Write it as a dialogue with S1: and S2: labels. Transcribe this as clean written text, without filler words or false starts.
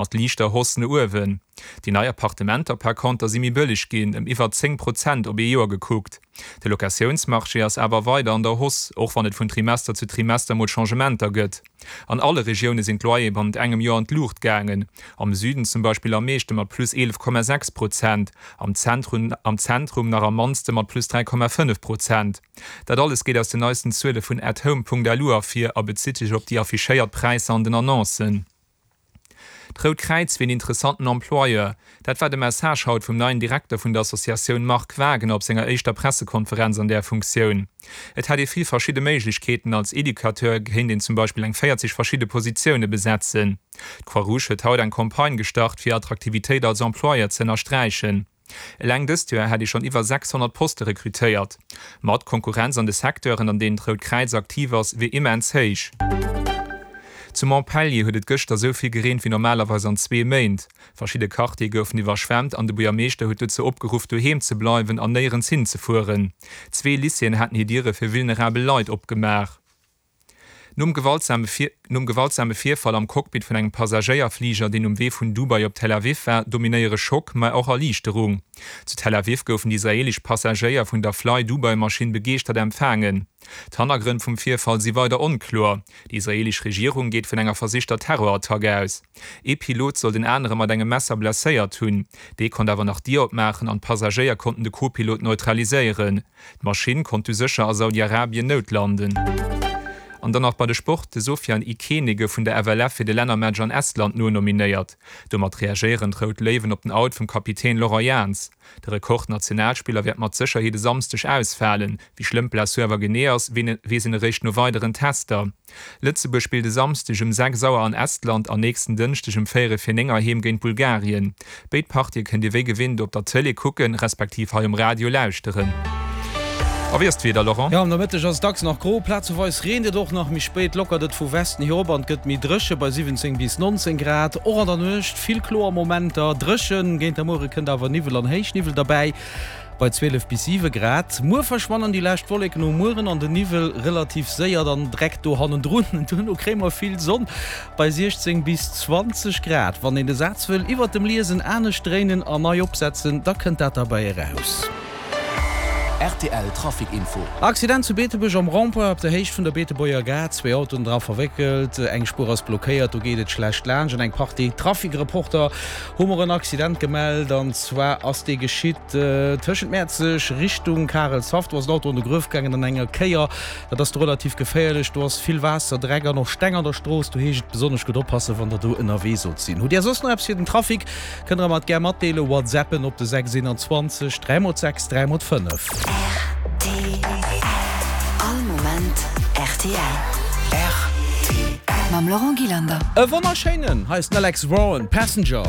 S1: Mat liichter Hausse no uewen. Déi nei Appartementer par conter si méi bëlleg ginn, ëm iwwer 10 Prozent op ee Joer gekuckt. De Locatiounsmarché ass awer weider an der Hausse, och wann et vun Trimester zu Trimester mol Changementer gëtt. An alle Regioune sinn d'Loyere bannent engem Joer an d'Luucht gaangen, am Süden zum Beispill am meeschte mat plus 11,6 Prozent, am Zentrum am Zentrum nach am mannste mat plus 3,5 Prozent. Dat alles geet aus den neisten Zuele vun atHome.lu ervir a bezitt sech op déi affichéiert Präisser an den Annoncen. D'Rout Kräiz wier en interessanten Employeur. Dat war de Message haut vum neien Direkter vun der Associatioun Marc Wagener op senger éischter Pressekonferenz an där Funktioun. Et hätt ee vill verschidde Méiglechkeeten, als Educateur kéint een zum Beispill eng 40 verschidde Positioune besetzen. D'Croix-Rouge huet haut eng Campagne gestart, fir Attraktivitéit als Employeur ze ënnersträichen. Eleng dëst Joer hätt ee schonn iwwer 600 Poste rekrutéiert. Ma d'Konkurrenz an de Secteuren, an deenen d'Rout Kräiz aktiv ass, wier immens héich. Zu Montpellier huet et gëschter esou vill gereent wéi normalerweis an zwee Méint. Verschidde Quartiere goufen iwwerschwemmt an de Buergermeeschter huet dozou opgeruff, doheem ze bleiwen an néierens hinzefueren. Zwee Lycéeën haten hir Diere fir vulnerabel Leit opgemaach. Nom gewaltsame Nom gewaltsame Virfall am Cockpit vun engem Passagéierfliger, deen um Wee vun Dubai op Tel Aviv war, dominéiere Schock, ma och Erliichterung. Zu Tel Aviv goufen déi israeelesch Passagéier vun der Fly-Dubai-Maschinn begeeschtert empfaangen. D'Hannergrënn vum Virfall si weider onkloer. Déi israeelesch Regierung geet vun enger versichter Terrorattack aus. Ee Pilot soll den anere mat engem Messer blesséiert hunn. Dee konnt awer nach d'Dier opmaachen an d'Passagéier konnten de Co-Pilot neutraliséieren. D'Maschinn konnt du sécher a Saudi-Arabien noutlanden. An dann nach bei de Sport, De Sofiane Ikene gouf vun der FLF fir de Lännermatch an Estland nonominéiert. Domat reagéieren d'Rout Léiwen op den Out vum Kapitän Laurent Jans. De Rekordnationalspiller wäert mat Sécherheet e Samsdeg ausfalen. Wéi schlëmm d'Blessur awer genee ass, weess een eréischt no weideren Tester. Lëtzebuerg spillt e Samsdeg um 6 Auer an Estland an nächsten Dënschdeg um véierel vir 9 heiheem géint Bulgarien. Béid Partië kënnt Dir wéi gewinnt op der Tëlee kucken, respektiv hei um Radio lauschteren. A wéi ass d'Wieder, Laurent?
S2: Jo, am Nomëtteg ass et dacks nach gro, plazeweis reent et och nach. Méi spéit lockert et vu Westen hier op an et gëtt méi dréche bei 17 bis 19 Grad. Och an der Nuecht vill kloer Momenter, dréchen. Géint der Muere kënnt awer Niwwel an Héichniwwel derbäi. Bei 12 bis 7 Grad. Muer verschwannen déi lescht Wolleken um Mueren an den Niwwel relativ séier dann dreckt do hannendrun. Duerno kréie mer vill Sonn bei 16 bis 20 Grad. Wann een de Saz wëll iwwert dem Liesen anescht dréinen a nei opsetzen, da kënnt dat derbäi eraus.
S3: Rtl Trafic Info.
S2: Accident zu Beetebuerg am Rond-point op der Héicht vun der Beetebuerger Gare. Zwee Autoen dra verwéckelt, eng Spuer ass blockéiert, do geet et schlecht laanscht. An eng Partie Trafic-Reporter hu mer en Accident gemellt an zwar ass dee geschitt tëschent Mäerzeg Richtung Karelshaff. Do ass en Auto an de Gruef gaangen an enger Kéier. Dat ass do relativ geféierlech. Do ass vill Waasser, Dreck an och Steng an der Strooss. Do heescht et besonnesch gutt oppassen, wann der do ënnerwee sollt sinn. Hutt Dir soss nach eppes fir den Trafic, kënnt der mer et gär matdeelen. Whatsappen op de 6 21 3 mol 6 3 mol 5.
S4: Rtl. All Moment rtl.
S3: Rtl.
S4: Mam Laurent Gillander.
S2: E wonnerschéinen! Hei ass den Alex Warren, Passenger.